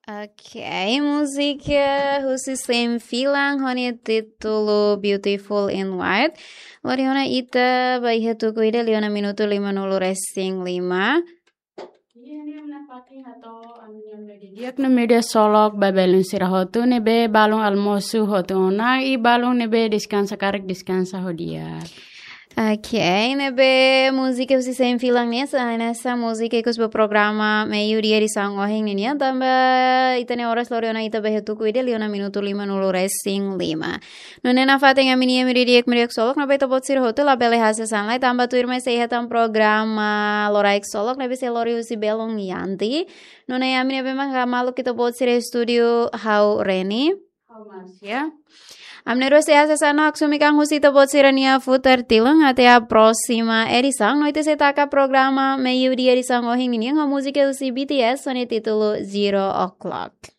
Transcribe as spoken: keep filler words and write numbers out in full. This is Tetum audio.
Ok, múzika husi Sem Filang ho nia títulu Beautiful in White. Lori ona ita ba iha tuku ida liu ona minutu lima nulu resin lima. Di'ak no media solok ba belun sira hotu ne'ebé balun almosu hotu ona i balun ne'ebé deskansa karik deskansa ho di'ak. Ok, ne'ebé múzika husi Sem Filang ne'e, hanesan múzika ikus ba programa Meiudia edisaun ohin ninian, tanba ita-nia oras lori ona ita ba iha tuku ida liu ona minutu lima nulu resin lima. Nune'e nafatin ami-nia imi di'ak, imi di'ak solok, ne'ebé ita-boot sira hotu labele hasai sasán lai, tanba tuirmai sei iha tan programa Loraik Solok ne'ebé sei lori husi belun Yanti. Nune'e ami ne'ebé mak hamaluk ita-boot sira estúdiu ha'u Reni. Ha'u Marcia. Ami na'in-rua sei hasai sasán no haksomi kan husi ita-boot sira-nia futar tilun até a próxima edição. No ita sei taka programa Meiudia edisaun ohin ninian ho múzika husi B T S ho nia títulu Zero O'Clock.